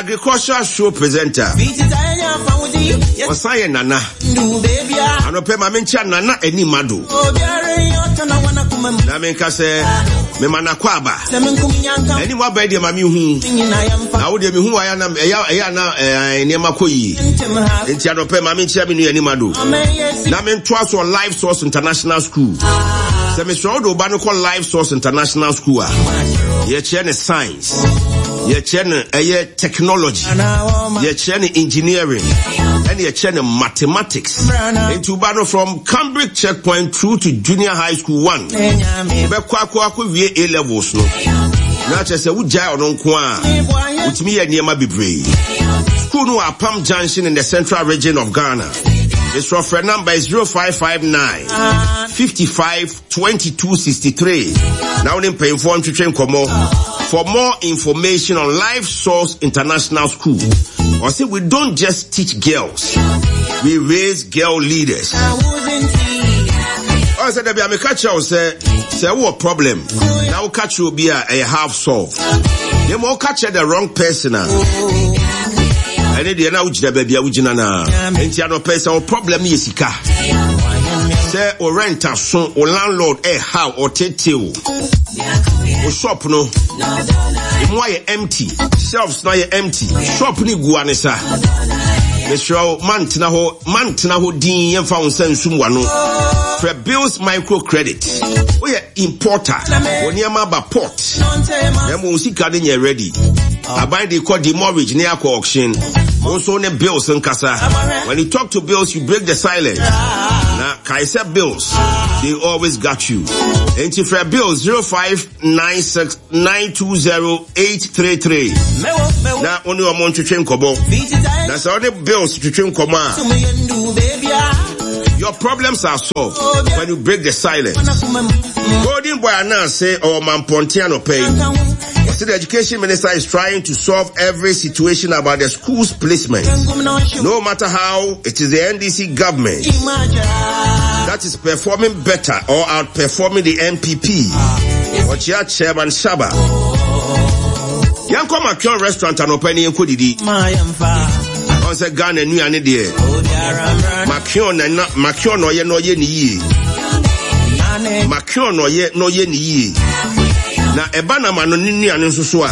agricultural show presenter. Ɔsan yɛ nana. Anɔpɛ ma menkyia nana anim ado. Na menka sɛ mema nakɔ aba. Anim aba deɛ ma mehu. Na wo deɛ mehu ayɛ na ɛyɛ ana nneɛma kɔ yie. Nti anɔpɛ ma menkyia me nua anim ado. Na mentoa so Life Source International School. Sɛ mesrɛ wo de wo ba no kɔ Life Source International School a, yɛkyerɛ ne science, yɛkyerɛ no ɛyɛ technology, yɛkyerɛ no engineering, ɛne yɛkyerɛ no mathematics. Nti wo ba no from Cambridge checkpoint through to junior high school one, wobɛkɔ akɔ akɔ wie A levels no. Na kyerɛ sɛ wogyae ɔno nko a, wotumi yɛ nneɛma bebree. School no wɔ Apam Junction in the central region of Ghana. Mesrɛ frɛ number 0559 55 22 63 na wo ne mpanyinfoɔ ntwetwe nkɔmmɔ. For more information on Life Source International School, or say we don't just teach girls, we raise girl leaders. Ɔn sɛ dabi a meka kyerɛ wo sɛ sɛ wowɔ problem na woka kyerɛ obi a ɛyɛ half solved. Na mmom woka kyerɛ the wrong person a ɛne deɛ na wogyina baabi a wogyina no a. Enti anɔpɛ sɛ wo problem no yɛ sika sɛ wo rent aso wo landlord ɛhaw ɔtetew wo shop no emu ayɛ empty shelves no ayɛ empty shop no gu ane sa mesrɛ wo mantena hɔ mantena hɔ din yɛmfa wo nsa nsum wano frɛ bills micro credit woyɛ importer wɔ nneɛma aba port na mmom sika no nyɛ ready aban de kɔ demurrage ne akɔ auction wo nso ne bills nkasa when you talk to bills you break the silence na kae sɛ bills they always got you enti frɛ bills 0596 920 833 na wo ne ɔmo ntwetwe nkɔmmɔ na sɛ wo ne bills twetwe nkɔmmɔ a your problems are solved when you break the silence golden boy ananse ɔwɔ mampɔnten anɔpɛ yi Ɔse the education minister is trying to solve every situation about the school's placement. No matter how, it is the NDC government that is performing better or outperforming the NPP. Ɔkyea Chairman Shaba. Yɛnkɔ Makion restaurant anɔpa ni yɛnkɔ didi. Ɔn sɛ Ghana nnuane deɛ. Makion na Makion na ɔyɛ na ɔyɛ ne yie. Makion na ɔyɛ na ɔyɛ ne yie. Na ɛba na ma no ne nnuane nso so a,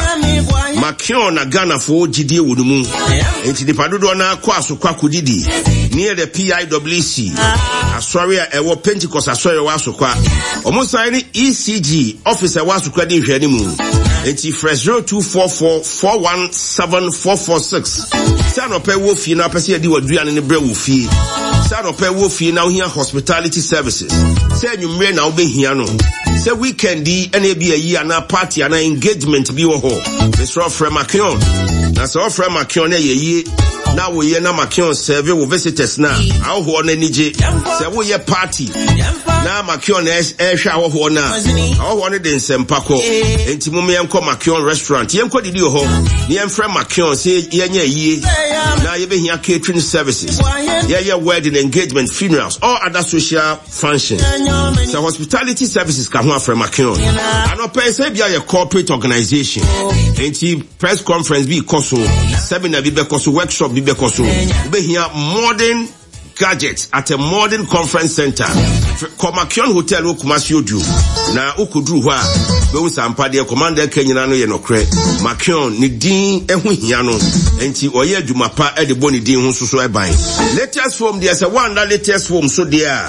Makion na Ghanafoɔ gyidie wɔ no mu. Enti nipa dodoɔ no akɔ asokɔ akɔdidi near the PIWC asɔre a ɛwɔ Pentecost asɔre ɛwɔ Asokwa. Wɔn san ne ECG office ɛwɔ Asokwa di nhwɛani mu. Enti frɛ 0244 417 446 sɛ anɔpɛ wɔ fie na apɛ sɛ yɛde w'aduane no brɛ wɔ fie. Sɛ anɔpɛ wɔ fie na wohia hospitality services. Sɛ anwummerɛ na wobɛhia no. Sɛ weekend yi ɛna ebi ayi anaa party anaa engagement bi wɔ hɔ. Mesrɛ frɛ Makion. Na sɛ ɔfrɛ Makion na ɛyɛ yie na woyɛ na Makion serve wo visitors na ahɔhoɔ no ani gye. Sɛ woyɛ party na Makion ɛrehwɛ ahɔhoɔ no a, ahɔhoɔ no de nsɛmpa kɔ. Enti mom yɛnkɔ Makion restaurant. Yɛnkɔ didi wɔ hɔ na yɛmfrɛ Makion sɛ yɛnyɛ ayie na yɛbɛhia catering services. Yɛyɛ wedding, engagement, funerals, all other social function. Sɛ hospitality services ka ho afrɛ Makion. Anɔpɛ sɛ bia yɛ corporate organization. Enti press conference bi kɔ so, seminar bi bɛkɔ so, workshop bi bɛkɔ so. Wobɛhia modern gadgets at a modern conference center. Kɔ Makion Hotel wɔ Kumasi Odu. Na wokɔduru hɔ a, bɛhu sɛ ampa deɛ commander ka nyinaa no yɛ nɔkorɛ. Makion ne din ho hia no, enti ɔyɛ adwuma pa de bɔ ne din ho nso so ban. Latest foam deɛ sɛ woanda latest foam so deɛ a,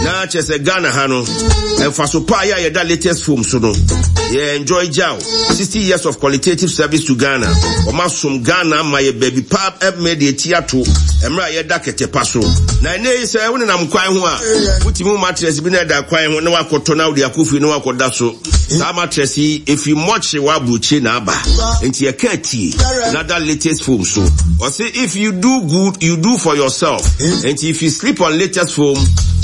na kyerɛ sɛ Ghana ha no, mfaso pa a yɛ a yɛda latest foam so no, yɛ enjoy gyaw. 60 years of qualitative service to Ghana. Wɔn asom Ghana ama yɛ baabi pa ɛmɛ deɛ ti ato mmerɛ a yɛda kɛtɛ pa so. Na ɛnɛ yi sɛ wonenam kwan ho a, wotumi wo mattress bi na ɛda kwan ho na wakɔtɔ na wode akɔ fie na wakɔda so. Saa mattress yi efi mɔkye wɔ aburokyi na aba. Nti yɛka tie na da latest foam so. Ɔse if you do good, you do for yourself. Nti if you sleep on latest foam,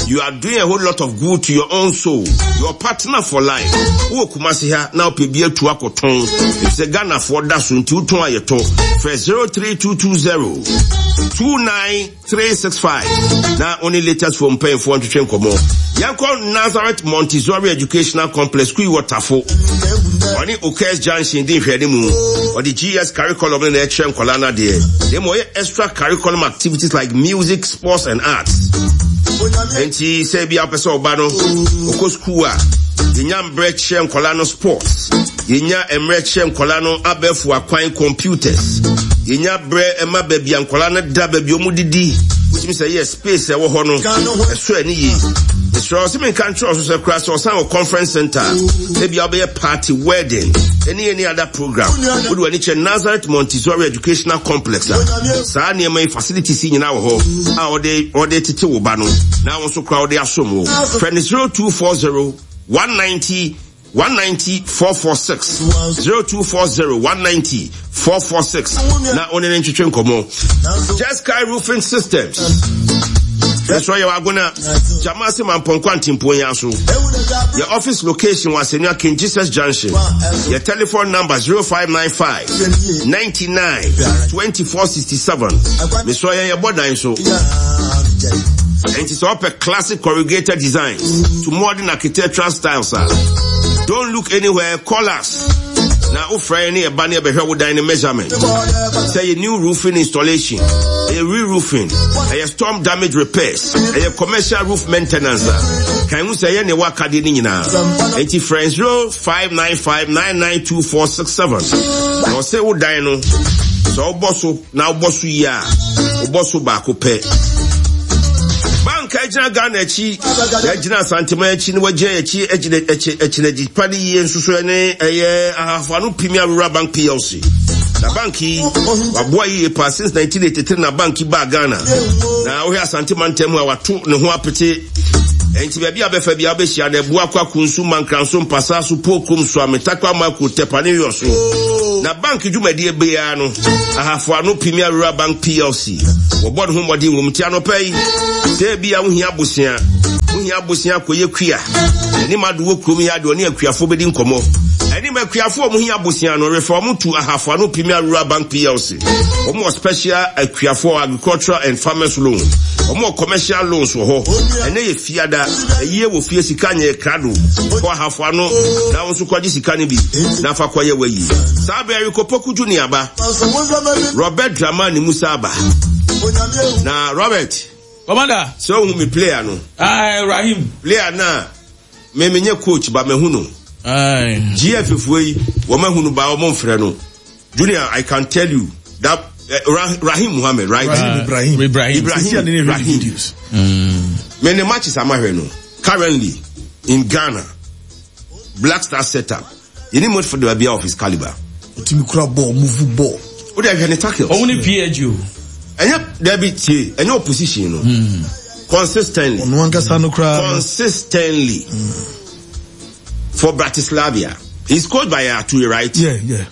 you are doing a whole lot of good to your own soul. Your partner for life. Wowɔ Kumasi ha na wopɛ bi atu akɔtɔn efisɛ Ghanafoɔ da so nti wotɔn a yɛtɔ. Frɛ 03220 29365 na wo ne latest foɔ mpanyinfoɔ ntwetwe nkɔmmɔ. Yɛnkɔ Nazareth Montessori Educational Complex, Kui wɔ Tafo. Ɔne Okes Junction di nhwɛanimu. Ɔde GS curriculum no na ɛkyerɛ nkwadaa no adeɛ. Na mmom ɔyɛ extra curriculum activities like music, sports and arts. Enti sɛ ebi a wopɛ sɛ ɔba no ɔkɔ sukuu a, yɛnya mbrɛ kyerɛ nkwadaa no sports. Yɛnya mmerɛ kyerɛ nkwadaa no abɛɛfo akwan computers. Yɛnya berɛ ɛma baabi a nkwadaa no da, baabi a wɔdidi. Wotumi sɛ yes. Space a ɛwɔ hɔ no, ɛsɔ ani yie. Mesrɛ wo sɛ menka nkyerɛ wo so sɛ koraa sɛ ɔsan wɔ conference center a, ebia wobɛyɛ party, wedding, ɛne any other program. Wode w'ani kyerɛ Nazareth Montessori Educational Complex a, saa nneɛma yi facilities yi nyinaa wɔ hɔ a wɔde wɔde tete wo ba no na wo nso koraa wode asom wo. Frɛ no 0240 190 190 446 0240 190 446 na wo ne ne ntwetwe nkɔmmɔ. Just Sky Roofing Systems ɛsɔ yɛ wagona Jamase Mampɔnkɔ Antimpon yɛn so. Yɛ office location wɔ Asɛnua King Jesus Junction. Yɛ telephone number 0595 99 2467. Mesɔ yɛn yɛbɔ dan so. Ɛnti sɛ ɔpɛ classic corrugated design to modern architectural styles a, don't look anywhere, call us. Na wofrɛ yɛn ne yɛba ne yɛbɛhwɛ wo dan ne measurement. Sɛ yɛ new roofing installation, ɛyɛ re-roofing, ɛyɛ storm damage repairs, ɛyɛ commercial roof maintenance a, kan hu sɛ ɛyɛ ne ɛwɔ akadeɛ no nyinaa. Enti frɛ 0595992467. Na ɔsɛ wo dan no, sɛ wobɔ so na wobɔ so yie a, wobɔ so baako pɛ. Bank a agyina Ghana akyi, na agyina Asanteman akyi, na wagyina akyi agyina akyi akyinagyi pa ne yie nso so ne ɛyɛ Ahafo Ano Premier Rural Bank PLC. Na bank yi, waboa yie paa since 1983 na bank yi baa Ghana. Na wohwɛ Asante mantam mu a wato ne ho apete. Enti baabi a bɛfa bi a wobɛhyia no, Abua, Kwaku, Nsu, Mankranso, Mpasaa so, Pokum, Suame, Takwa, Mako, Tepa ne Wiɔso. Na bank dwumadie biara no, Ahafo Ano Premier Rural Bank PLC, wɔbɔ ne ho mmɔden wɔ mu. Nti anɔpa yi, sɛ ebi a wohia abosea, wohia abosea akɔyɛ kua, ɛne ma do wɔ kurom yi ade ɔne akuafoɔ bɛdi nkɔmmɔ. Ɛne ma akuafoɔ a wɔhia abosea no, refer wɔn to Ahafo Ano Premier Rural Bank PLC. Wɔn wɔ special akuafoɔ agricultural and farmers loan. Wɔn wɔ commercial loans wɔ hɔ. Ɛnɛ yɛ fiada, ɛyie wɔ fie sika nyɛ krado. Kɔ Ahafo Ano na wo nso kɔgye sika no bi na fa kɔyɛ w'ayi. Saa bɛɛ rekɔ Poku Junior aba. Robert Dramani Musa aba. Na Robert. Commander. Sɛ ohun mi player no. Ah, Rahim. Player na me me nye coach ba mehu no. Aye. GF foɔ yi wɔn ahu no ba wɔn mfrɛ no. Junior, I can tell you that uh, Rahim Muhammad, right? Rahim Ibrahim. Ibrahim. Ibrahim. Rahim. Mm. Me ne matches amahwɛ no currently in Ghana. Black Star setup. Yɛni midfielder biara of his caliber. Otumi kura ball, move ball. O de hwɛ ne tackles. Ɔmo ne PSG o. Ɛnyɛ dabi tie, ɛnyɛ opposition no. Hmm. Consistently. Ɔno ankasa no koraa. Consistently. Mm. For Bratislava. He's coached by Aturi, right? Yeah, yeah.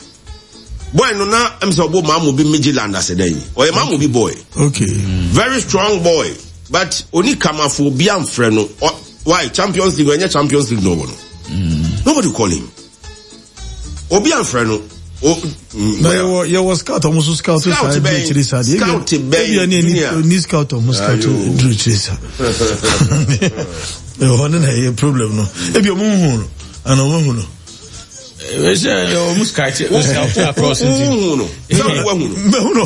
Boy no na ɛm sɛ ɔbɔ maamu bi Midland ase dɛ yi. Ɔyɛ maamu bi boy. Okay. Very strong boy. But oni kamafo obi amfrɛ no. Why? Champions League ɛnyɛ Champions League na ɔwɔ no. Mm. Nobody call him. Obi amfrɛ no. O, na yɛwɔ yɛwɔ scout ɔmo so scout saa duru akyire saa deɛ scout bɛn ebi ɛni ni scout ɔmo scout duru akyire saa ɛhɔ ne na ɛyɛ problem no ebi ɔmo hu no ana ɔmo hu no. Ɛsɛ ɔmo scout scout across nti. Wohu no sɛ woahu no. Mɛhu no.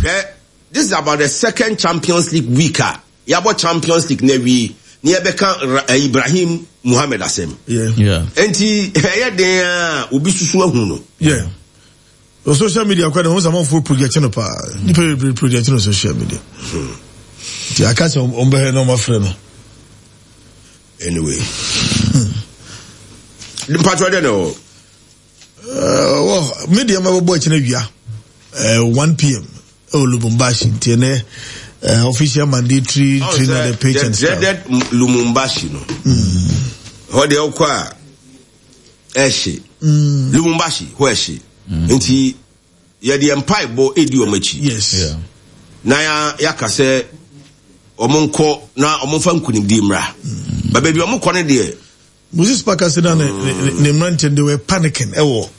Hwɛ this is about the second Champions League week a yɛabɔ Champions League na awie na yɛbɛka eh, Ibrahim Muhammad asɛm. Nti ɛyɛ den a obi susu ahu no. Yeah. O social media kɔ de ho sɛ project no paa. Nipa bebree project no social media. Nti aka sɛ ɔmbɛhwɛ na ɔmafrɛ no. Anyway. Mpatwɔ dɛ na ɛwɔ. Wɔ me deɛ ma bɛbɔ akyi no awia 1 pm ɛwɔ Lubumbashi nti ɛnɛ official mandatory oh, training at the pitch and stuff. Dreaded Lumumbashi no. Hɔ deɛ wokɔ a ɛhye. Lumumbashi hɔ ɛhye. Nti yɛde yɛn mpaebɔ edi wɔn akyi. Yes. Yeah. Na ya yɛaka sɛ wɔn nkɔ na wɔn mfa nkunimdie mmra. Mm. Ba baabi wɔn kɔ no deɛ. Moses Parker sɛ na ne ne ne mmeranteɛ they were panicking ɛwɔ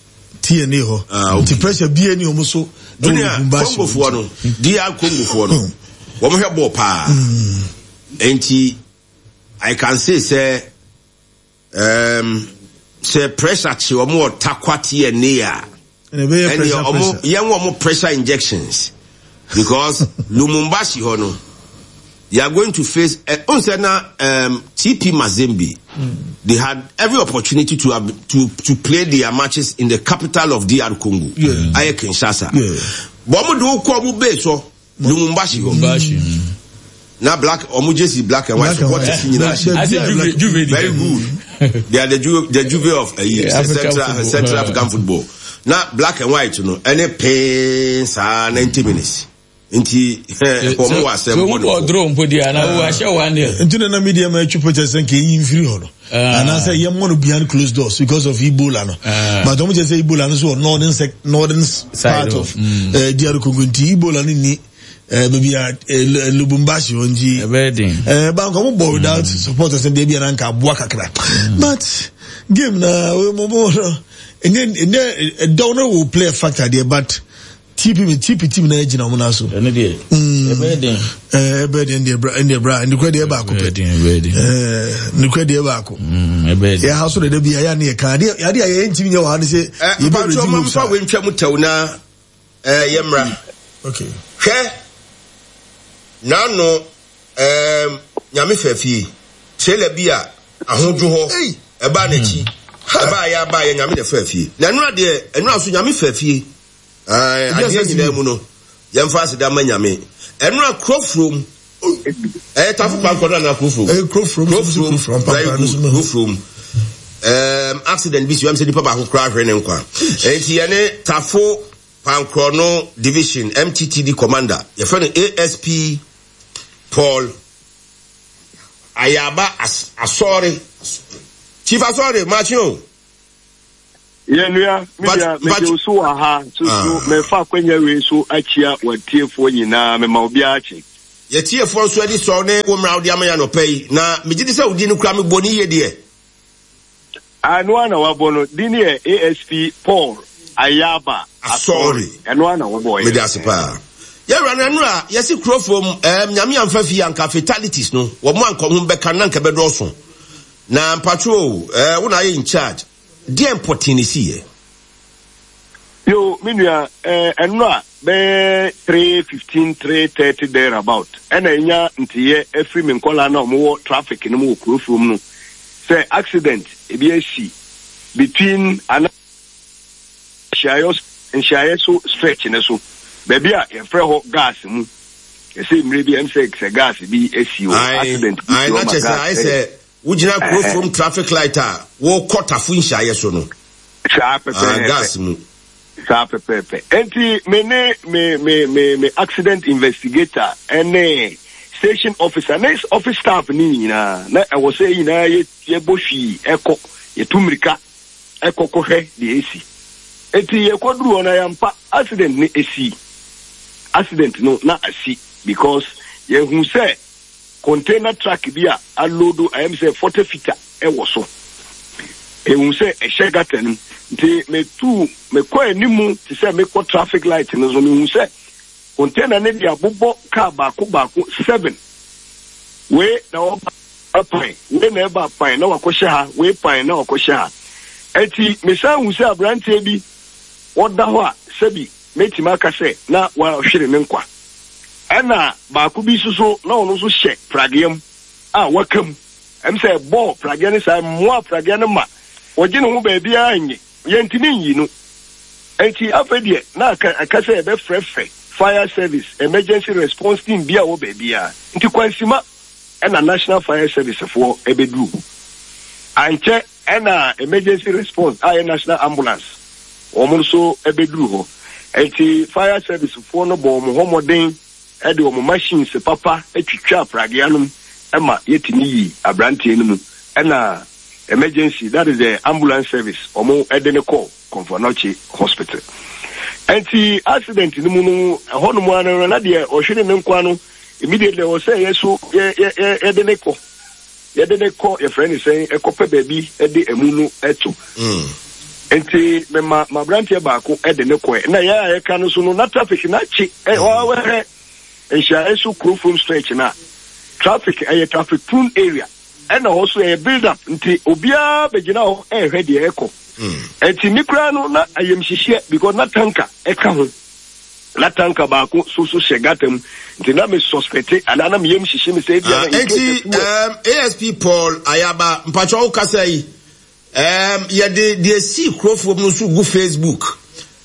TNA hɔ. Ah, okay. Nti pressure bie ni wɔn so. Junior Congofoɔ no DR Congofoɔ no wɔn hwɛ bɔɔl paa. Nti I can say sɛ. Um, Sɛ pressure kye wɔn wɔ Tarkwa TNA a, ɛnneɛ wɔn yɛn wɔn pressure injections because Lumumbashi hɔ no they are going to face. Eh, uh, sɛ na um, TP Mazembe they had every opportunity to have, to to play their matches in the capital of DR Congo, yeah. ayɛ Kinshasa. Yeah. But wɔn de wokɔ wɔn base hɔ. Lumumbashi hɔ. Lumumbashi. Mm. Na black ɔmo jersey black and white supporters nyinaa hyɛ. Very good. They are the Juve, the Juve of uh, yeah, Central Central African football. Na black and white no ɛne pee saa 90 minutes. Nti wɔn wɔ asɛm bɔ ne fo. So draw mpo di ana wo ahyɛ one nil. Nti na na media ma atwi picture sɛ nka eyi mfiri hɔ no. Ah. Anaasɛ yɛn mmɔ no behind closed doors because of Ebola no. Ah. But wɔn kyerɛ sɛ Ebola no so wɔ northern sec northern part of mm. eh, DR Congo nti Ebola no ni eh, baabi a eh, Lubumbashi hɔ nti. Ɛbɛyɛ den. Ɛɛ banka wɔn bɔ without mm. supporters deɛ bi ananka aboa kakra. Mm. But game na wɔn bɔ no ɛnyɛ ɛnyɛ ɛdɔw no wɔ play factor deɛ but. TP mi TP team na gyina wɔn nan so. Ɛno deɛ mm. ɛbɛyɛ den. Ɛɛ ɛbɛyɛ den deɛ bra ɛdeɛ bra nukura deɛ baako pɛ. Ɛbɛyɛ den ɛɛ nukura deɛ baako. Mm, ɛbɛyɛ den. Yɛ ha so dede bi ayɛ ne yɛ kan adeɛ adeɛ a yɛ ntumi nyɛ wɔ ha ne sɛ. Ɛ mpatso ɔmo nfa wei ntwa mu tɛw na ɛɛ yɛ mmra. Okay. Hwɛ n'ano ɛɛm nyame fɛ fie trailer bi a ahodwo hɔ ɛbaa n'akyi ɛbaa yɛ abaa yɛ nyame na fɛ fie na ɛnura deɛ ɛnura so nyame fɛ fie. Ae, adeɛ nyinaa mu no, yɛmfa aseda ma Nyame. Ɛno a Kurofurom, ɛyɛ Tafo Pankɔ no anaa Kurofurom? Ɛyɛ Kurofurom, Kurofurom, very good, Kurofurom. Um, accident bi si wɛm sɛ nipa baako koraa hwere ne nkwa. Enti yɛne Tafo Pankorɔ no Division MTTD Commander, yɛfrɛ no ASP Paul Ayaba Asɔre. Chief Asɔre, makye o. Yɛn nua, me nua, mede wo so wɔ ha soso ah. mefa akwanya wei so akyia w'atiefoɔ nyinaa, mema obiara kye. Yɛtiefoɔ nso ani sɔ ne wo mmara wode ama yɛ anɔpa yi, na megye di sɛ wo din no kura mebɔ ne yie deɛ. Ɛno ara na wabɔ no, din no yɛ ASP Paul Ayaba Asɔre. Ɛno ara na wɔbɔɔ yɛ. Mede ase paa. Yɛwura no ɛno a yɛsi kuro fam ɛɛm nyame amfa fie anka fatalities no wɔn anka wɔn bɛka na anka bɛdɔɔso. Na mpatwo o, eh, wo na ayɛ in charge. Deɛn pɔtee na ɛsiiɛ? Yo, me nua, eh, ɛnora bɛyɛ 3:15, 3:30 there about, ɛna ɛnya nteyɛ afiri me nkɔlaa na wɔwɔ traffic no mu wɔ kuro furom no sɛ accident ebi asi between ana nhyiaeɛ nhyiaeɛ so stretch no so baabi a yɛfrɛ hɔ gas mu ɛsɛ mmerɛ bi ɛm sɛ sɛ gas bi asi hɔ accident bi si hɔ ma gas sɛ wogyina kuro from traffic light a wɔkɔ tafo nhyiaeɛ so no saa pɛpɛɛpɛ gas mu saa pɛpɛɛpɛ nti me ne me me me me accident investigator ɛne station officer ne office staff ne nyinaa na ɛwɔ sɛ nyinaa yɛ yɛbɔ hwii ɛkɔ yɛtu mmirika ɛkɔ kɔhwɛ deɛ ɛsi. Enti yɛkɔduru hɔ no ayampa accident no ɛsii. Accident no na asi because yɛhu sɛ container truck bi a alodo ayɛm sɛ 40 fita ɛwɔ so. Yɛhu sɛ ɛhyɛ gutter no mu. Nti metu mekɔ animu te sɛ mekɔ traffic light no so mehu sɛ container no de abobɔ car baako baako seven. Wei na ɔba pan, wei na ɛba pan na wakɔhyɛ ha, wei pan na wakɔhyɛ ha. Enti mesan hu sɛ aberanteɛ bi ɔda hɔ a sɛbi mɛtumi aka sɛ na wahwere ne nkwa. Ɛna baako bi nso so na ɔno nso hyɛ pragea mu a waka mu. Ɛm sɛ ɛbɔɔ pragea no saa, mmoa pragea no ma ɔgye ne ho baabiara nye. Yɛntumi nyi no. Enti afei deɛ na aka aka sɛ yɛbɛfrɛfrɛ fire service, emergency response team bi a ɛwɔ baabiara. Nti Kwansima ɛna National Fire Service foɔ ɛbɛduru hɔ. Ankyɛ ɛna emergency response a ɛyɛ National Ambulance wɔn nso ɛbɛduru hɔ. Enti fire service foɔ no bɔɔ wɔn ho mmɔden ɛde wɔn machines papa twitwaa pragea no mu ɛma yɛtumi yii aberanteɛ no mu ɛna emergency that is the ambulance service wɔn ɛde no kɔɔ Komfo Anokye hospital. Ɛnti accident no mu no ɛhɔ nom ara no na deɛ ɔhwere ne nkwa no immediately ɛwɔ sɛ yɛ so yɛ yɛ yɛ yɛde ne kɔ yɛde ne kɔ yɛfrɛ ne sɛn ɛkɔpɛ baabi ɛde ɛmu no ɛto. Nti mema m'aberanteɛ baako ɛde ne kɔɛ na yɛ a yɛka no so no na traffic na akye ɛ ɔwɛhɛ nhyiaeɛ so kuro from stretch na traffic ɛyɛ traffic prone area. Ɛna hɔ so ɛyɛ build up nti obiara bɛgyina hɔ ɛrehwɛ deɛ ɛrekɔ. Ɛnti me koraa no na ayamhyehyeɛ because na tanker ɛka ho. Na tanker baako so so hyɛ gutter mu nti na me suspect anaa na me yam hyehye me sɛ ebia na in case Ɛnti um, ASP Paul Ayaba mpakyɛ wo kasa yi um, yɛde deɛ sii kurofoɔ mu no nso gu Facebook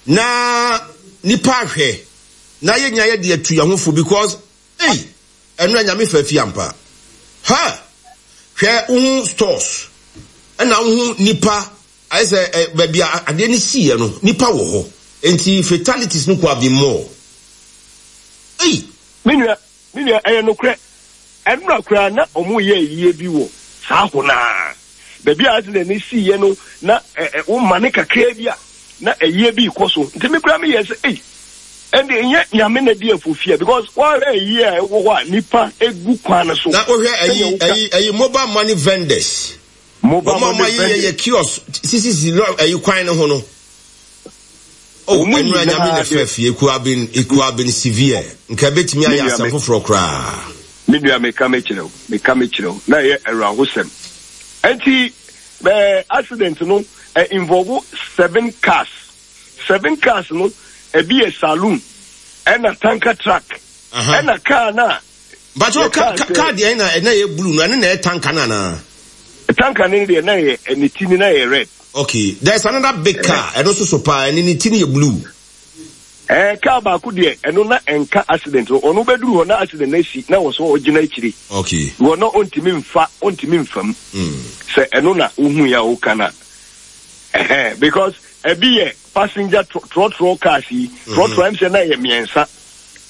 na nipa ahwɛ na yɛnya yɛde atu yɛn ho fo because Ei! Ɛno anyame fa fi ampa. Ha! Hwɛ wohu stores ɛna wohu nipa ayɛ sɛ ɛ baabi a adeɛ no siiɛ no nipa wɔ hɔ nti fatalities no could have been more. Ei! Me nua, me nua, ɛyɛ nokorɛ. Ɛnora koraa na wɔreyɛ ayie bi wɔ saa hɔ no ara. Baabi a accident no siiɛ no, na wo mane kakraa bi a, na ayie bi rekɔ so. Nti me koraa meyɛɛ sɛ, ei, ɛnde ɛnyɛ Nyame na ɛde afofie a, because woahwɛ ayie a ɛwɔ hɔ a nnipa gu kwan no so. Na wohwɛ ayi, ayi, ayi mobile money vendors. Mobile money vendors. Wɔn a wɔayeyɛ yɛ kiosk sisisi lɔ ayi kwan no ho no. Oh, Wɔn ɛnura nyinaa Nyame na de. ɛfɛ fie. It could have been, it could have been severe. Nka ebetumi Me ayɛ nua asɛm me. foforɔ koraa. Me nua meka mekyerɛ wo, meka mekyerɛ wo, na ɛyɛ awerɛhosɛm. Ɛnti bɛ accident no ɛ involve seven cars. Seven cars no ɛbi yɛ saloon, ɛna tanker truck, ɛna car no a Mpakyɛw yɛ ka car ka sɛ. car deɛ na ɛna yɛ blue no ɛno na ɛyɛ tanker no anaa? Tanker no deɛ na ɛyɛ ne ti no na ɛyɛ red. Okay, there's another big car ɛno nso so paa ɛne ne ti no yɛ blue. Ɛɛ car baako deɛ ɛno na ɛnka accident no ɔno bɛduru hɔ na accident no asi na wɔ so ɔgyina akyire. Okay. Wɔ na ɔntumi nfa ɔntumi nfa mu. Sɛ ɛno na wohu yɛ a woka na ɛhɛn because ɛbi yɛ passenger trɔtrɔ cars yi trɔtrɔ ɛm sɛ na ɛyɛ mmiɛnsa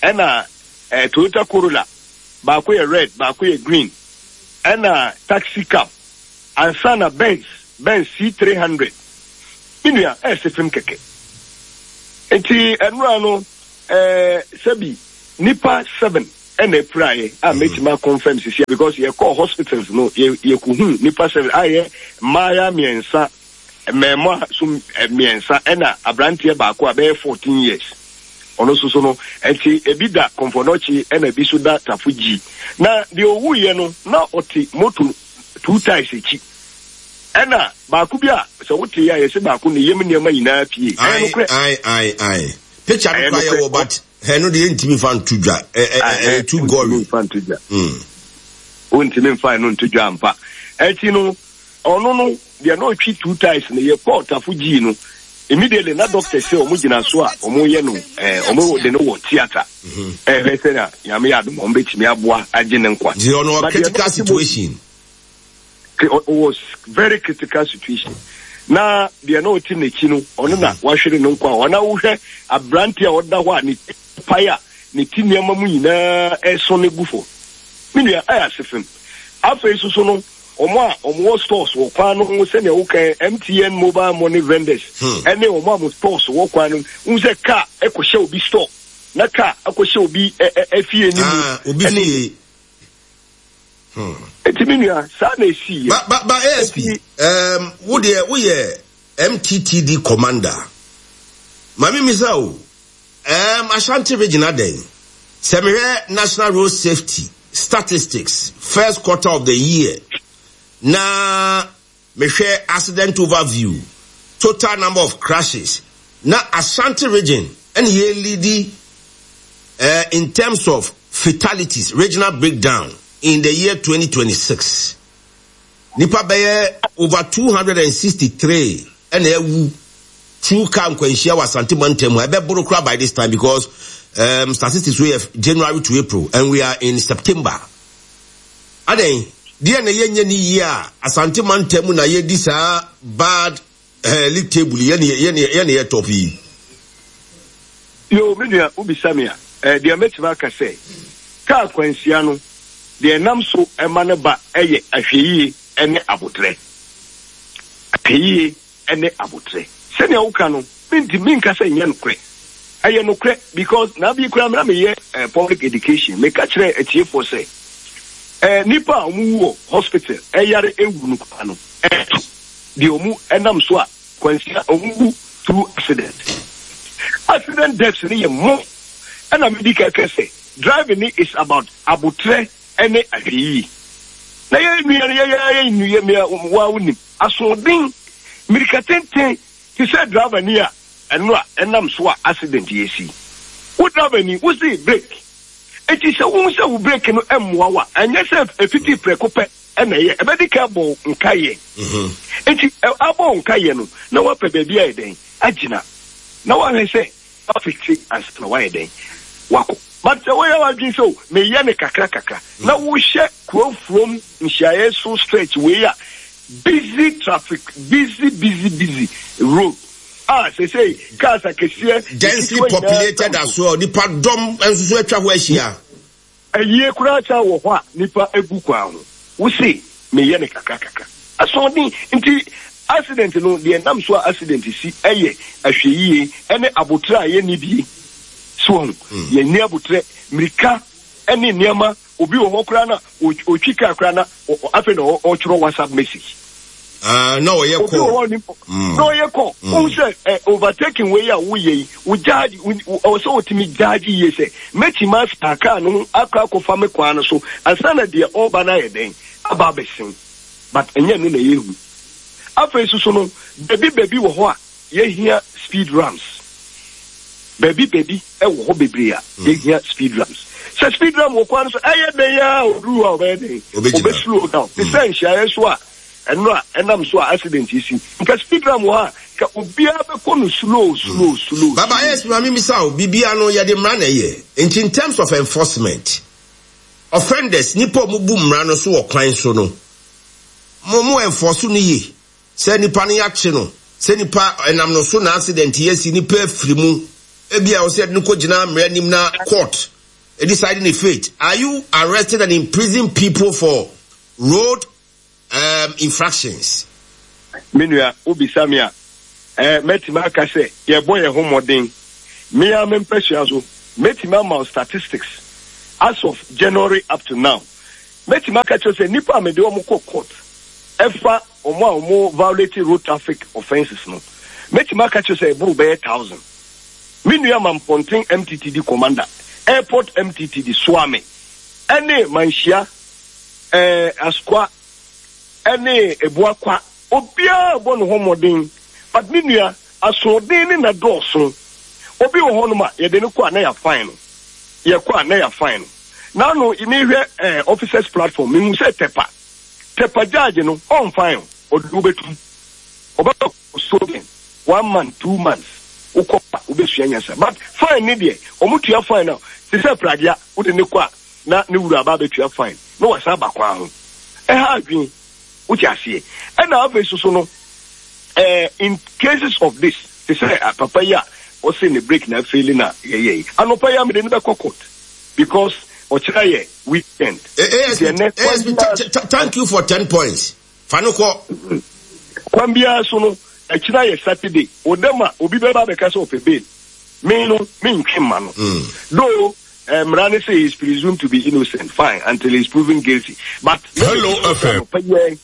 ɛna ɛɛ Toyota Corolla baako yɛ red baako yɛ green ɛna taxi cab ansa na Benz Benz C300. Me nua, ɛyɛ sefem kɛkɛ. Nti ɛnora no, eh, sɛbi nipa seven ɛna apiraeɛ a mɛtumi akɔnfɛm sisia because yɛkɔɔ hospitals no yɛkɔhu nipa seven a yɛ mmaaya mmiɛnsa, mmɛɛmoa so mmiɛnsa ɛna aberanteɛ baako a bɛyɛ 14 years. Ɔno nso so no, nti ebi da Kɔmfɔnɔkye ɛna ebi so da Tafo Gyi. Na deɛ ɔwuiɛ no, na ɔte moto two times akyi. Ɛna baako bi a sɛ wote a yɛse baako ne yam nneɛma nyinaa pie. Ɛyɛ nokorɛ. Ae ae ae. Picture no Ɛyɛ koraa nokorɛ. yɛwɔ but ɛno deɛ yɛntumi mfa nto dwa. Ɛ ɛ ɛ ɛyɛ too Wontumi gory. mfa nto dwa. Mm. Wontumi mfa ɛno nto dwa ampa. Akyi no, ɔno no, deɛ na ɔtwi two times no, yɛkɔɔ Tafo gyii no. Immediately na doctor sɛ wɔn gyina so a wɔyɛ no ɛɛ wɔn de no wɔ theatre. Ɛhwɛ sɛ na Nyame yɛ adom a wɔn bɛtumi aboa agye ne nkwa. Nti ɔno wɔ But deɛ na critical ɔte mo situation. was very critical situation na deɛ na ɔte n'akyi no ɔno na wahwere no nkwa hɔ na wohwɛ aberante a ɔda hɔ a ne pae a ne ti nneɛma mu nyinaa ɛso ne gu fam me nua ɛyɛ ase fam afei soso no wɔn a wɔn wɔ stores wɔ kwan no ho sɛnea wokan MTN mobile money vendors ɛne wɔn a wɔn stores wɔ kwan no ho sɛ car ɛkɔhyɛ obi store na car akɔhyɛ obi efie ne mu ah, obi fie Hmm. Eti me nua, saa na esi yɛ. Ba ba ba ASP, um, wo deɛ woyɛ MTTD commander. Maame misa o, um, Ashanti region adɛn? Sɛ mehwɛ National Road Safety statistics first quarter of the year na Mehwɛ accident overview, total number of crashes, na Ashanti region ɛna yɛ leadi eh, in terms of fatalities, regional breakdown in the year 2026. Nipa bɛyɛ over 263 ɛna awu through car nkwanhyia wɔ Asante mantam ha. Ɛbɛboro koraa by this time because um, statistics wey yɛ January to April and we are in September. Adɛn, deɛn na yɛnyɛ no yie a Asante mantam mu na yɛdi saa bad eh, league table yi, yɛne yɛne yɛne yɛ top yi? Yoo, me nua, wobisa me a, eh, deɛ mɛtumi aka sɛ, kaa kwanhyia no, deɛ ɛnam so ma no ba yɛ ahwɛyie ne aboterɛ. Ahwɛyie ne aboterɛ. Sɛnea woka no, mentumi nka sɛ ɛnyɛ nokorɛ. Ɛyɛ nokorɛ because na bi koraa na meyɛ eh, public education. Meka kyerɛ atiefoɔ sɛ eh, nnipa a wɔwu wɔ hospital ɛyare ɛwu no koraa no, ɛto deɛ wɔn ɛnam so a kwansia wɔn wu through accident. Accident deaths no yɛ more. Ɛna medi kɛkɛ sɛ driving is about aboterɛ ne ahwɛyie. Na yɛn nua no yɛyɛ yɛn nua mia wa wonim asoɔden mirika tenten te sɛ driver ni a ɛno a ɛnam so a accident yɛ si. Wo driver ni wo se brake eti sɛ wohu sɛ wo brake no mmoa wo a ɛnyɛ sɛ efiti prɛko pɛ ɛna ɛyɛ ɛbɛdi ka abɔ wo nkaeɛ. Eti abɔ wo nkaeɛ no na wapɛ baabi ayɛ dɛn agyina na wahwɛ sɛ wafekse ansa na wayɛ dɛn wakɔ. But sɛ woyɛ w'adwene sɛ o meyɛ no kakra kakra na wohyɛ kuro from nhyiaeɛ so stretch wei a busy traffic busy busy busy road a sesei cars akɛseɛ Densely nketewa nyinaa populated nam as so. well, nipa dɔm nso so atwa hɔ ahyia. Ayie koraa san wɔ hɔ a nipa gu kwan ho. Wo se meyɛ no kakra kakra. Asoɔden nti accident no deɛ ɛnam so a accident si yɛ ahwɛyie ne aboterɛ a yɛnni bie. So wahu? Yɛnni aboterɛ, mirika ne nneɛma. Obi wɔ hɔ koraa na ɔtwi kaa koraa na afei na ɔtwerɛ WhatsApp message. Ah, na ɔyɛ kɔ. Obi wɔ hɔ ni mm. na ɔyɛ kɔ. Mm. Wohu sɛ eh, overtaking wei a woyɛ yi, wo gyaagye, ɔwɔ sɛ wotumi gyaagye yie sɛ mɛtumi asa kaa no ho akɔ akɔfa me kwan no so ansa na deɛ ɔreba no ayɛ dɛn aba abɛsen. But ɛnyɛ no na yɛhu. Afei soso no, baabi baabi wɔ hɔ a yɛhia speed ramps. Baabi baabi wɔ hɔ bebree a mm. yɛhia speed ramps. Sɛ speed ramp wɔ kwan no so ɛyɛ dɛn a oduru hɔ a ɔbɛyɛ dɛn? Ɔbɛ slow down. Te sɛ nhyiaeɛ so a ɛno a ɛnam so a accident yi si. Nka speed ramp wɔ hɔ a nka obiara bɛkɔ no slow slow slow. Baba yes maame misa o bibia no yɛde mmara na ɛyɛ nti in terms of enforcement offenders nipa a wɔbu mmara no so wɔ kwan so no mo mo enforce no yie. Sɛ nipa no yakye no, sɛ nipa ɛnam no so na accident yi asi, nipa afiri mu, ebia ɛwɔ sɛ yɛde no kɔ gyina mmara anim na court decide ne fate. Are you arresting and imprison people for road um, infractions? Me nua, wobisa me a, eh, mɛtumi aka sɛ yɛbɔ yɛn ho mmɔden. Me ara me mpasua so, mɛtumi ama wo statistics as of January up to now. Mɛtumi aka kyerɛ sɛ nnipa a mede wɔn kɔ court ɛfa wɔn a wɔn violate road traffic offences no, mɛtumi aka kyerɛ sɛ ɛboro bɛyɛ thousand. Me nua Mampɔnten MTTD commander, Airport MTTD, Suame, ɛne Manhyia, ɛɛ Asukwa, ɛne Ebuakwa, obiara bɔ ne ho mmɔden. But me nua, asoɔden ne na dɔɔso. Obi wɔ hɔnom a yɛde no kɔ a na yɛafine no, yɛkɔ a na yɛafine no. N'ano mehwɛ ɛɛ officers platform, mehu sɛ Tɛpa. Tɛpa judge no ɔnfine wo, ɔde wo bɛtum. Ɔbɛma wo custodian one month, 2 months, wokɔ a wobɛsua nyansa. But fine ne deɛ, ɔmo tua fine a, te sɛ pragea, wode ne kɔ a na ne wura aba abɛtua fine na wasan aba kwan ho. Ɛha adwene, wote aseɛ. Ɛna afei soso no, eh, in cases of this, te sɛ papa yi a ɔse ne break na afeeli na yɛyɛ yi, anɔpa yi a mede no bɛkɔ court because ɔkyerɛ yɛ weekend. ASP, ASP, thank you for 10 points. Fa no kɔ. Kwan biara so no, ɛkyena yɛ Saturday. Wo dɛm a, obi bɛba abɛka sɛ ɔpɛ bail. Me no, mentwe mma no. Though, eh, mmara no sɛ he is presumed to be innocent, fine, until he is proven guilty. But, Hello FM. Anɔpa yi ara,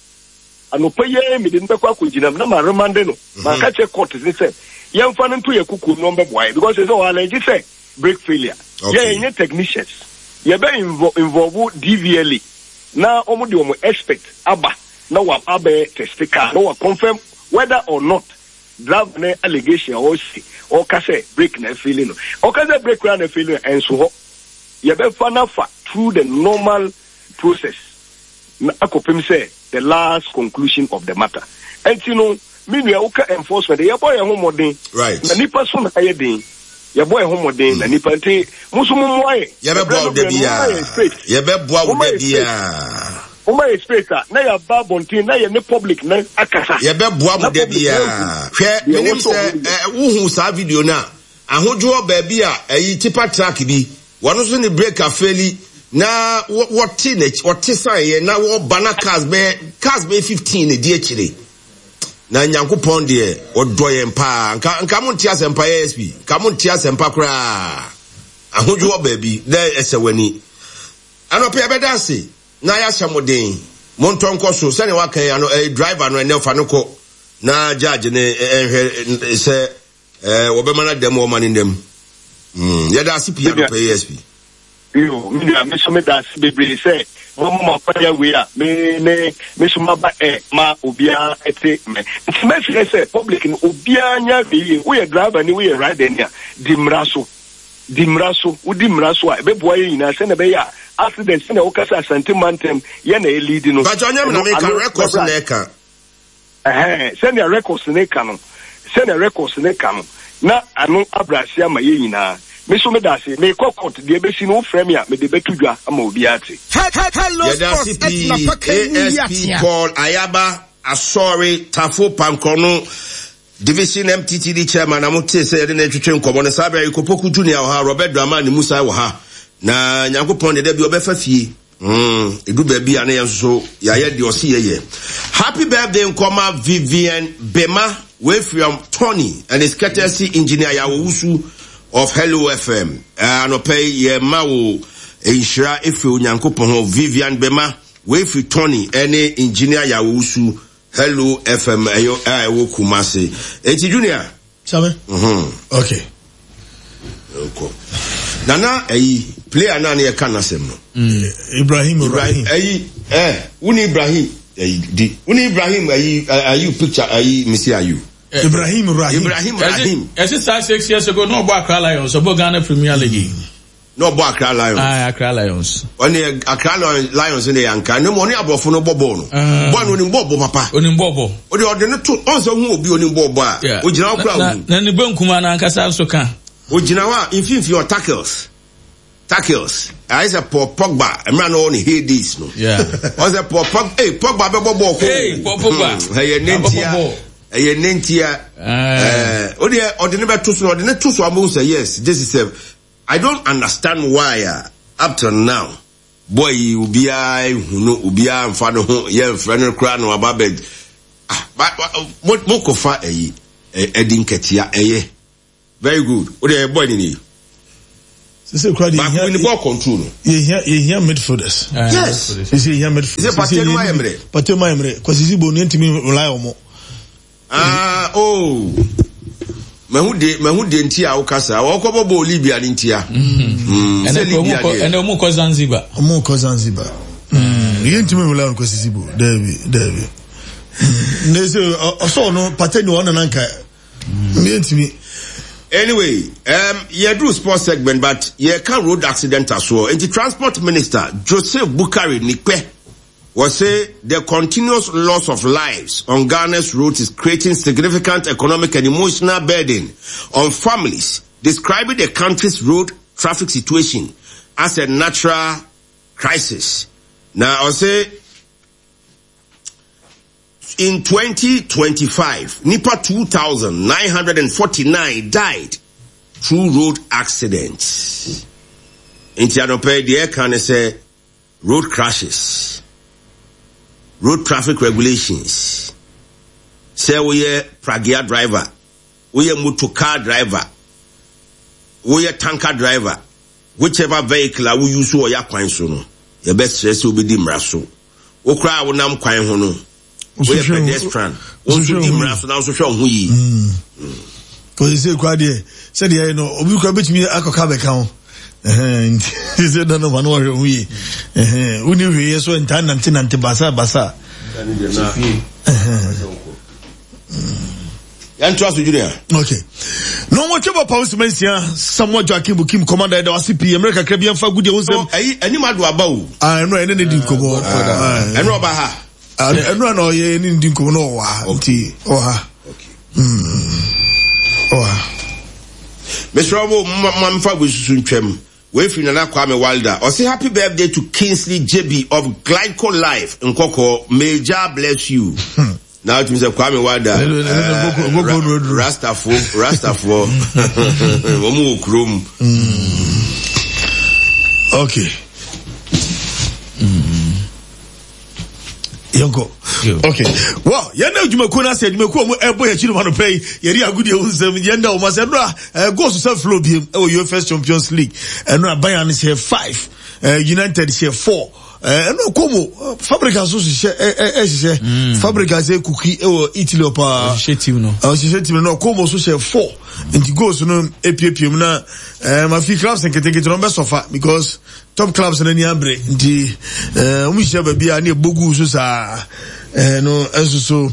anɔpa yi ara mede no bɛkɔ akɔgyina mu na ma remande no. Maka kyerɛ court ne sɛ, yɛmfa no nto yɛ kokoam na ɔmbɛboa yɛ. Because sɛ sɛ ɔallege sɛ brake failure. Yɛ yɛnyɛ technicians. Yɛbɛ involve DVLA na wɔn de wɔn expert aba na wɔaba abɛyɛ test car na wɔ confirm whether or not driver ne allegation a ɔsi ɔka sɛ brake na afeeli no. Ɔka sɛ brake koraa na afeeli no ɛnso hɔ. Yɛbɛfa no afa through the normal process na akɔpem sɛ the last conclusion of the matter. Ɛnti no me nua woka enforcement yɛbɔ yɛn ho mmɔden na nipa so na ayɛ den. Yɛbɔ yɛn ho mmɔden na nipa nti mo nso mo mmoa yɛn. Yɛbɛboa wo da biara. Yɛbɛboa wo da biara. Moma yɛ space a na yɛaba abɔnten na yɛne public no akasa. Yɛbɛboa mo da biara. Hwɛ, menim sɛ wohu saa video no a, ahodwoɔ baabi a ɛyi tipa truck bi, wɔn nso ne brake afeeli na wɔte n'akyi, wɔte san yɛ na wɔba na cars bɛyɛ cars bɛyɛ 15 na di akyire. Na Nyankopɔn deɛ ɔdɔ yɛn paa. Nka nka mo nte asɛmpa yɛ SP. Nka mo nte asɛmpa koraa. Ahodwoɔ baabi na ɛsɛ w'ani. Anɔpa yɛbɛda ase na yɛahyɛ mo den. Montɔ nkɔ so sɛnea waka yi ano ɛyɛ driver no ɛnɛ fa no kɔ na judge no ɛnhwɛ sɛ ɛɛ wɔbɛma no adam wɔma no nnam. Mm, yɛda ase pii anɔpa yi SP. Yo, me nua, me nso meda ase bebree sɛ. Moama mo akwanya wei a me ne me so maba ɛ ma obiara te me. Nti mɛsrɛ sɛ public no obiara nyɛ ahwɛyie. Woyɛ driver ni, woyɛ rider ni a, di mmara so. Di mmara so. Wodi mmara so a, ɛbɛboa yɛn nyinaa sɛnea ɛbɛyɛ a accident sɛnea woka sɛ Asante mantam yɛn na yɛ no. Mpakyɛ ɔnyɛ me na Ɛno meka, ano records bɛbrɛ na ase. ɛka. Ɛhɛɛ, sɛnea records no ka no, sɛnea records no ka no, na ano abrɛ ase ama yɛn nyinaa. Me nso meda ase. Merekɔ court, deɛ ɛbɛsi no, wofrɛ me a, mede bɛto dwa ama obiara ate. Yɛda ase pii ASP Paul Ayaba Asɔre Tafo Pankrɔno Division MTTD Chairman na motee sɛ yɛde no retwetwe nkɔmmɔ no. Saa berɛ yi Kopoku Junior wɔ ha, Robert Dramani Musa wɔ ha. Na Nyankopɔn deɛ da bi ɔbɛfa fie. Mm, edu baabi a na yɛn nso so yɛayɛ deɛ ɔse yɛyɛ. Happy birthday nkɔma Vivian Bema wei from Tony and his courtesy engineer Yawowusu of Hello FM. Eh, anɔpa yi yɛma wo nhyira efiri Onyankopɔn hɔ. Vivian Bema wei firi Tony ɛne engineer Yawowusu Hello FM ɛyɛ a ɛwɔ Kumasi. Eti Junior. Sami. Mm-hmm. Okay. Nkɔ. Nana ɛyi player naa ne yɛ ka n'asɛm no. Mm. Ibrahim Ibrahim. Ɛyi ɛ wuni Ibrahim ɛyi di wuni Ibrahim ɛyi ayu picture ɛyi misi ayu. Ibrahim Rahim. Ibrahim Rahim. Ɛsi saa 6 years ago na ɔbɔ Accra Lions ɔbɔ Ghana Premier League. Mm. Na ɔbɔ Accra Lions. Aye, Accra Lions. Ɔne Accra Lions ne yanka. Ne mu ɔne aborɔfo no bɔ bɔɔl no. Ah. Bɔɔl no onim bɔɔl bɔ papa. Onim bɔɔl bɔ. Ɔde ɔde no to ɔn sɛ ohun obi onim bɔɔl bɔ a. Ogyina hɔ kora ohu. Na ne benkum anankasa nso ka. Ogyina hɔ a mfimfini ɔ tackles. Tackles. Ayɛ sɛ Paul Pogba mmerɛ na ɔwɔ ne heydays no. Ɔn sɛ Paul Pogba ee Pogba bɛbɔ bɔɔl ko. Ee Paul Pogba. Hmm, ɛyɛ ne ntia. Ɛyɛ ne ntia. Ɛɛ o deɛ ɔde ne bɛto so ɔde ne to so amu sɛ yes this is a I don't understand why a up till now boy yi obiara nhu no obiara nfa ne ho yɛnfrɛ no koraa na waba bɛ ah ba mo mo kɔfa ɛyi ɛdi nkɛtea ɛyɛ very good o deɛ boy ni ni. Sese kura de baako bi ni ball control no. Yehia yehia midfielders. Yes. Sese yehia midfielders. Sese Partey no ayɛ mmerɛ. Partey no ayɛ mmerɛ. Kwasi Sibo no yɛntumi rely on mo. Ah, oh. Mahu de, mahu de nti a woka saa. Wɔkɔbɔ bɔɔl Libya ne ntia. Mm. Sɛ Libya deɛ. Ɛnɛ ɔmo kɔ Zanzibar. Ɔmo kɔ Zanzibar. Mm. Yɛntumi nwula no kɔsi sibo. Daabi, daabi. Mm. Ne sɛ ɔsɔ ɔno pate ne ɔno nanka. Yɛntumi. Anyway, um, yɛduru sports segment but yɛka road accident asoɔ. Nti transport minister Joseph Bukari Nikpe Wɔse the continuous loss of lives on Ghana's roads is creating significant economic and emotional burden on families, describing the country's road traffic situation as a natural crisis. Na ɔse in 2025, nipa 2,949 died through road accidents. Nti anɔpɛ deɛ ɛka ne sɛ road crashes, road traffic regulations, sɛ woyɛ pragea driver, woyɛ motor car driver, woyɛ tanker driver, whichever vehicle a wo use wɔ yɛ akwan so no, yɛbɛsrɛ sɛ wobɛdi mmara so. Wo koraa a wonam kwan ho no, woyɛ pedestrian, wo nso di mmara so na wo nso hwɛ wo ho yie. Kò sɛ kura deɛ sɛdeɛ ɛyɛ no obi kura bɛtumi akɔka bɛka ho nti sɛ dɔn no ma no wahwɛ ho yie wonni hwee yɛ so ntaa nante nante basa basa. Yɛntoa so Junior. Okay. Na wɔn twɛ bɔ pɔn sima nsia Samuel Joaquim Bukim commander ɛda wase pii mmerɛ kakra bi ɛnfa gudi ɛho nsɛm. Ɛyi anim ado aba o. Ah ɛno ɛne ne di nkɔmɔ. Ɛno ɔba ha. Ɛno na ɔyɛ ne di nkɔmɔ na ɔwɔ ha nti ɔwɔ ha. Ɔwɔ ha. Mesrɛ wo ma mfa wei susu ntwam. Wei firi Nana Kwame Wilder. Ɔse happy birthday to Kingsley Jebi of Glyco Life Nkɔkɔɔ. May Jah bless you. Na wotumi sɛ Kwame Wilder Rastafo Rastafoɔ wɔn wɔ kurom. Okay. Yɛnkɔ. Okay. Well, yɛn na adwumakuo no ase adwumakuo a wɔn ɛbɔ yɛn akyi no ma no pɛ yi yɛde agodie ho nsɛm yɛn da wɔn ase ɛno a ɛɛ goals sɛ flow biem ɛwɔ UEFA Champions League ɛno a Bayern hyɛ 5 ɛɛ United hyɛ 4. Ɛno Como Fabregas nso hyehyɛ ɛhyehyɛ mm. Fabregas kuki ɛwɔ Italy hɔ paa. Ɔhyehyɛ team no. Ɔhyehyɛ team no na Como nso hyɛ four nti goals no epiepie mu na ɛɛ ma fi clubs nketenkete no ɔbɛ sɔfa because top clubs no ani abere nti ɛɛ wɔn hyehyɛ baabi a ne ɛbɔ gu so saa ɛɛ no nso so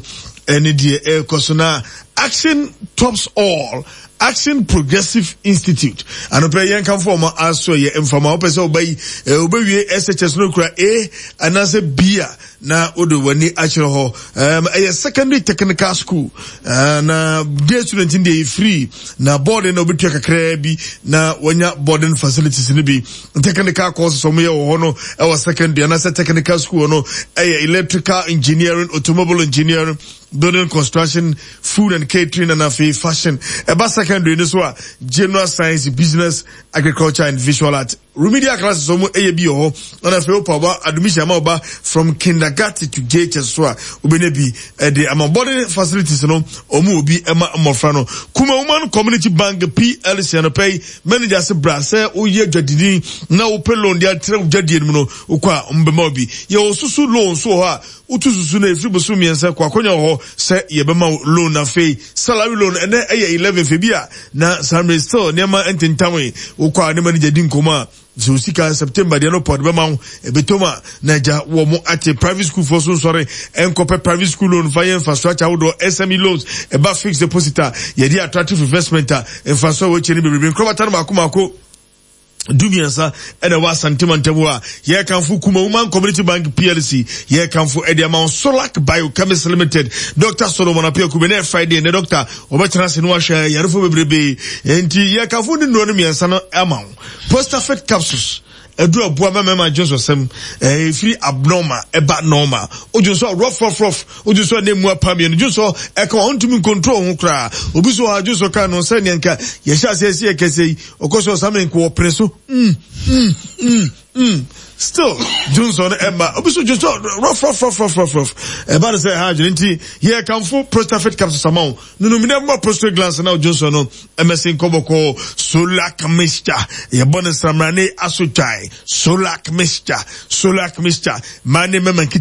ɛne deɛ ɛrekɔ so na action tops all. Action Progressive Institute anɔpɛ yɛn kanfo wɔn aso yɛ nfama wopɛ sɛ ɔba yi wobɛwie SHS no kura A anaasɛ B a na wode w'ani akyerɛ hɔ ɛyɛ secondary technical school na day student deɛ yɛ free na boarding na wobɛtua kakraa bi na wanya boarding facilities no bi technical courses wɔn yɛ wɔ hɔ no ɛwɔ secondary anaasɛ technical school no ɛyɛ electrical engineering, automobile engineering, building construction, food and catering, and afei fashion. Ɛba secondary no so a, general science, business, agriculture and visual art. Remedial classes wɔn ɛyɛ bi wɔ hɔ. Ɛna afei wopɛ ɔba admission ama ɔba from kindergarten to JHS so a, wobɛnya bi ɛde ama. Boarding facilities no, wɔn wɔ bi ɛma mmɔfra no. Kumawoman Community Bank PLC anɔpɛ yi, manager se bra sɛ woyɛ dwadini na wopɛ loan de atrɛ wo dwadie no mu no, wokɔ a wɔbɛma wo bi. Yɛwɔ susu loan nso wɔ hɔ a, Wotu susu no ɛfiri bosom mmiɛnsa kɔ akwanya wɔ hɔ sɛ yɛbɛma wo loan afei salary loan ɛnɛ ɛyɛ 11th ebi a na saa mmerɛ still nneɛma ntentamee wokɔ a ne manager di nkɔmmɔ a sɛ wo sika September deɛ no pɔ de bɛma wo ɛbɛtɔm a na agya wɔ mo ate private school foɔ so nsɔre ɛnkɔpɛ private school loan fa yɛ infrastructure ahodoɔ SME loans ɛba fixed deposit a yɛde attractive investment a mfasoɔ a wɔakyɛ no bebrebe nkorabata no mako mako dumiɛnsa ɛna ɛwɔ Asante mantam hɔ a yɛrekamfo Kumawoman Community Bank PLC yɛrekamfo ɛde ama wo Solac Biochemist Limited Dr. Solomon Apiakube na Friday ne doctor wɔbɛtena ase no ahwɛ yarefo bebrebe nti yɛrekamfo ne nnuro no mmiɛnsa no ama wo Prostafit capsules ɛduru aboa ma mmarima dwonsɔsɛm ɛfiri abnormal ɛba normal odwonsɔ rough rough rough Odwo so a na emu apa mmienu dwo so ɛka wɔn ntumi nkontrol ho koraa. Obi so ha dwo so ka no sɛ nea nka yɛhyɛ aseɛ sɛ yɛkɛsɛ yi ɔkɔ so ɔsame nko ɔpene so mm mm mm mm still dwo no ɛma obi so dwo so rough rough rough rough rough rough ɛba no sɛ ɛha adwene nti yɛ kanfo prostafit capsules ama wo nunum dɛ mma prostate glands na odwo so no ɛmɛsi nkɔbɔkɔ Solac mixture yɛbɔ no samrane aso twae Solac mixture Solac mixture maa ne mɛma nkita.